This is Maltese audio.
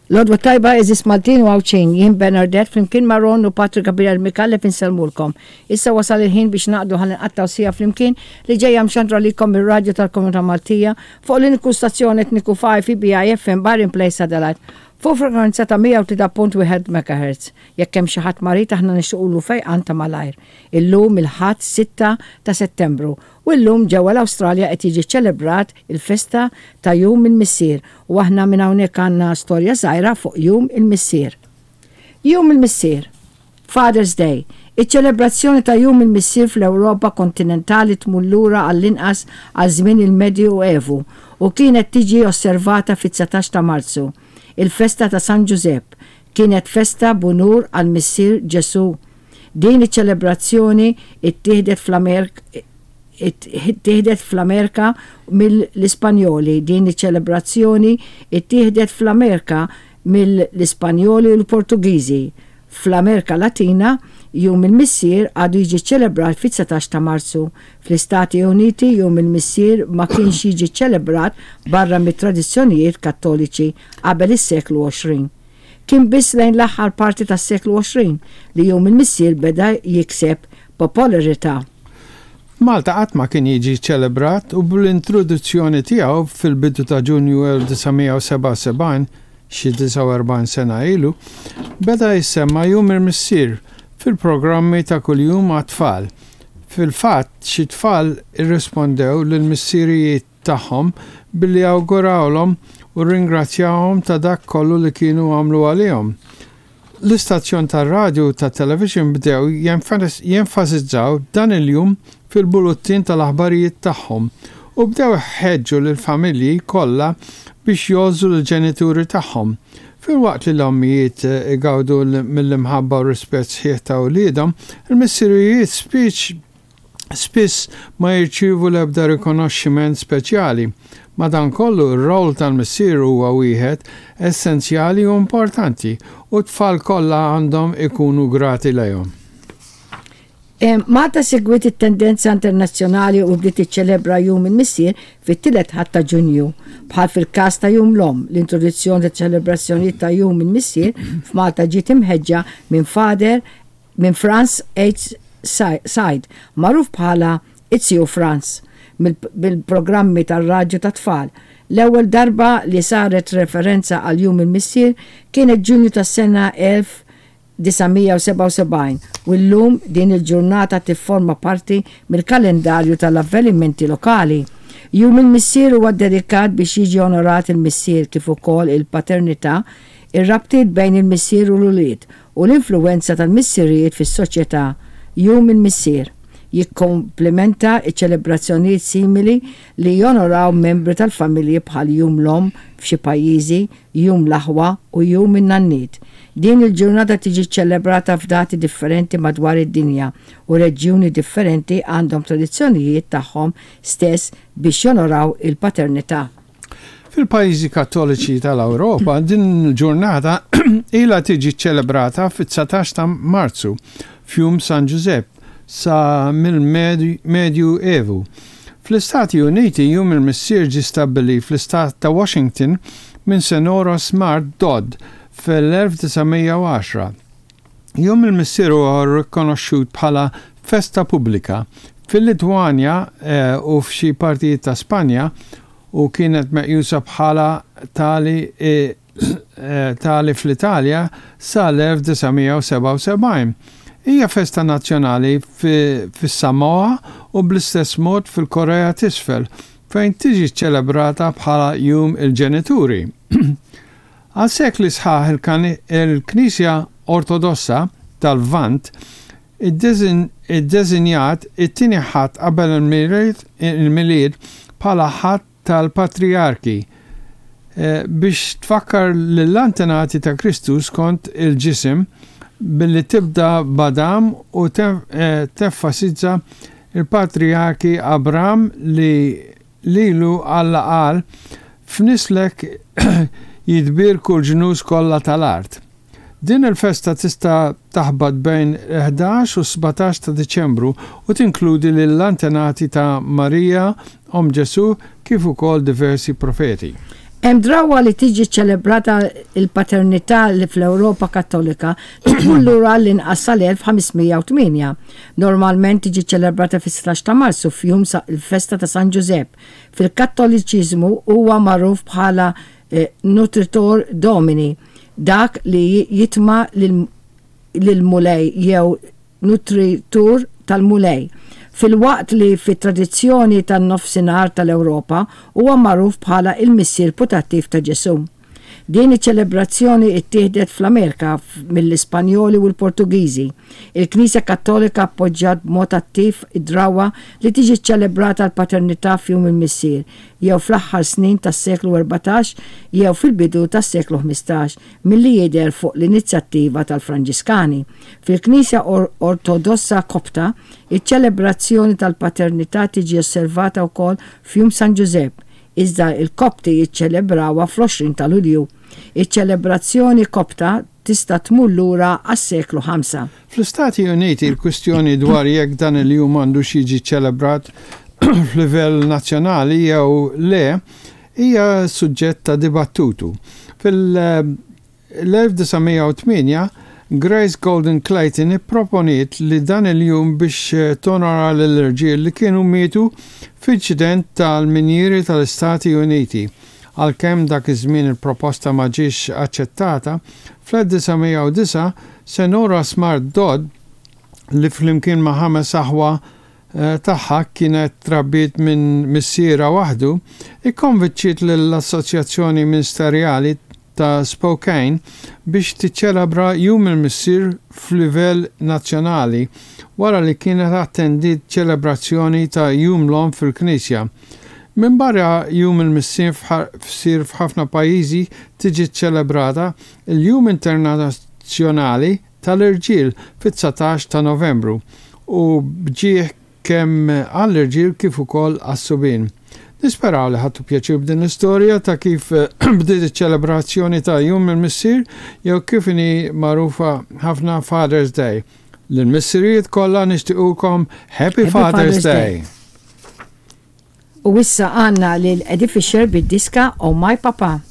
L-għodwa t-tajba għeżież Maltin u Għawdxin, jien Bernardette flimkien ma' Ron u Patri Gabriel Micallef insellmulkom. Issa wasal il-ħin biex naqdu ħalli nqattgħu siegħa flimkien li ġejja mxandra likom mir-radju tal-Komunità Maltija fuq l-uniku stazzjon etniku f'IFBI FM Bahrain Place Adelaide fuq frekwenza ta' 103.1 MHz. Jekk hemm xi ħadd marid aħna nixtiqulu fejqan ta' malajr. Illum il-Ħadd 6 ta' Settembru U llum ġewwa l-Awstralja qed jiġi ċċelebrat il-festa ta' Jum il-Missier u aħna minn hawnhekk għandna storja żgħira fuq Jum il-Missier. Jum il-Missier. Father's Day. Iċ-ċelebrazzjoni ta' Jum il-Missier fl-Ewropa kontinentali tmur lura għall-inqas għal żmien il-Medju Evu u kienet tiġi osservata fit-19 ta' Marzu, il-festa ta' San Ġużepp. Kienet festa b'unur għall-Missier Ġesù Din iċ-ċelebrazzjoni ttieħdet ttieħdet fl-Amerika mill-Ispanjoli Din iċ-ċelebrazzjoni ttieħdet fl-Amerika mill-Ispanjoli u l-Portugiżi. Fl-Amerika Latina, Jum il-Missier għadu jiġi ċċelebrat fit-19 ta' Marzu. Fl-Istati Uniti, Jum il-Missier ma kienx jiġi ċċelebrat barra mit-tradizzjonijiet Kattoliċi qabel is-seklu 20. Kien biss lejn l-aħħar parti tas-seklu 20 li Jum il-Missier beda jikseb popolarità. F'Malta qatt ma kien jiġi ċċelebrat u bl-introduzzjoni tiegħu fil-bidu ta' Ġunju 1977, xi 49 sena ilu, beda jissemma Jum il-Missier fil-programmi ta' kuljum għat-tfal. Fil-fatt, xi tfal irrispondew lill-missirijiet tagħhom billi awgurawlhom u rringrazzjahom ta' dak kollu li kienu għamlu għalihom. L-istazzjon tar-radju u tat-television bdew jenfasizzaw dan il-jum fil-buluttin tal-aħbarijiet tagħhom u bdew iħeġġu lill-familji kollha biex jgħożżu lill-ġenituri tagħhom. Filwaqt li l-ommijiet igawdu mill-imħabba u r-rispett sħiħ ta' uliedhom, il-missirijiet spiċ spiss ma jirċievu l-ebda rikonoxximent speċjali. Madankollu, ir-role tal-missier huwa wieħed essenzjali u importanti u t-tfal kollha għandhom ikunu grati lejhom. Malta segwiet it-tendenza internazzjonali u bdiet tiċċelebra Jum il-Missier fit-tielet Ħadd ta' Ġunju. Bħal fil-każ ta' Jum l-Omm, l-introduzzjoni taċ-ċelebrazzjonijiet ta' Jum il-Missier f'Malta ġiet imħeġġa minn Father minn Frans H. Said, magħruf bħala Iz-Ziju Frans mill-programmi tar-radju tat-tfal. L-ewwel darba li saret referenza għal Jum il-Missier kienet Ġunju tas-sena 1977 u llum din il-ġurnata tifforma parti mill-kalendarju tal-avvenimenti lokali. Jum il-Missier huwa ddedikat biex jiġi onorat il-missier kif ukoll il-paternità, ir-rabtiet bejn il-missier u l-ulied, u l-influwenza tal-missirijiet fis-soċjetà, Jum il-Missier, jikkomplementa ċ-ċelebrazzjonijiet simili li jonoraw membri tal-familji bħal Jum l-Omm f'xi pajjiżi, Jum l-Aħwa u Jum in-Nanniet. Din il-ġurnata tiġi ċċelebrata f'dati differenti madwar id-dinja u reġjuni differenti għandhom tradizzjonijiet tagħhom stess biex jonoraw il-paternità. Fil-pajjiżi Kattoliċi tal-Ewropa din il-ġurnata ilha tiġi ċċelebrata fit-19 ta' Marzu, f'Jum San Ġużepp, sa mill-Medju Evu. Fl-Istati Uniti Jum il-Missier ġie stabbilit fl-Istat ta' Washington minn Senora Smart Dodd fl-1910. Jum il-Missier huwa rikonoxxut bħala festa pubblika fil-Litwanja u f'xi partijiet ta' Spanja u kienet meqjusa bħala tali tali fl-Italja sal-1977. Hija festa nazzjonali fis-Samoa u bl-istess mod fil-Korea t'Isfel, fejn tiġi ċċelebrata bħala Jum il-Ġenituri. Għal sekli sħaħ il-Knisja Ortodossa tal-Lvant iddeżinjat it-tieni Ħadd qabel il-Milied bħala Ħadd tal-Patrijarki biex tfakkar lill-antenati ta' Kristu skont il-ġisem billi tibda b'Adam u tenfasizza l-patrijarki Abram li Lilu Alla qal, F'nislek jitbierku l-ġnus kollha tal-art. Din il-festa tista' taħbat bejn il-11 u s-17 ta' Diċembru u tinkludi lill-antenati ta' Marija, omm Ġesù, kif ukoll diversi profeti. Hemm drawwa li tiġi ċċelebrata l-paternità li fl-Ewropa Kattolika li tmur lura għall-inqas sal-1508. Normalment tiġi ċċelebrata fis-16 ta' Marzu f'jum il-festa ta' San Ġużepp. Fil-Kattoliċiżmu huwa magħruf bħala Nutritor Domini, dak li jitma' lill-Mulej jew nutritur tal-Mulej, filwaqt li fit-tradizzjoni tan-Nofsinhar tal-Ewropa huwa magħruf bħala il-missier putattiv ta' Ġesù. Din iċ-ċelebrazzjoni ttieħdet fl-Amerika mill-Ispanjoli u l-Portugiżi. Il-Knisja Kattolika appoġġjat b'mod attiv id-drawwa li tiġi ċċelebrata l-paternità f'Jum il-Missier, jew fl-aħħar snin tas-seklu 14 jew fil-bidu tas-seklu 15, milli jidher fuq l-inizjattiva tal-Franġiskani. Fil-Knisja Ortodossa Kopta, iċ-ċelebrazzjoni tal-paternità tiġi osservata wkoll f'Jum San Ġużepp, iżda l-Kopti jiċċelebrawha fl-20 ta' Lulju. Iċ-ċelebrazzjoni Kopta tista' tmur lura għas-seklu ħamsa. Fl-Istati Uniti l-kwistjoni dwar jekk dan il-jum għandux jiġi ċċelebrat f'livell nazzjonali jew le hija suġġett ta' dibattutu. Fil-1908, Grace Golden Clayton ipproponiet li dan il-jum biex tonora lill-irġiel li kienu mietu f'inċident tal-minjieri tal-Istati Uniti. Għalkemm dak iż-żmien il-proposta ma ġiex aċċettata, fl-1909 Senora Smart Dodd, li flimkien ma' ħames aħwa tagħha kienet trabbiet minn missierha waħdu, ikkonvinċiet lill-Assoċjazzjoni Ministerjali ta' Spokane biex tiċċelebra Jum il-Missier f'livell nazzjonali wara li kienet attendiet ċelebrazzjoni ta' Jum l-Omm fil-knisja. Minbarra Jum il-Missier f'ħafna pajjiżi tiġi ċċelebrata l-Jum Internazzjonali tal-Irġiel fit-19 ta' Novembru u b'ġieħ kemm għall-irġiel kif ukoll għas-subien. Nisperaw li ħadtu pjaċir b'din l-istorja ta' kif bdiet iċ-ċelebrazzjoni ta' Jum il-Missier jew kif inhi magħrufa ħafna Father's Day. Lill-missirijiet kollha nixtiequlkom Happy Father's Day! U issa għandna lil Eddie Fisher bid-diska Oh My Papa.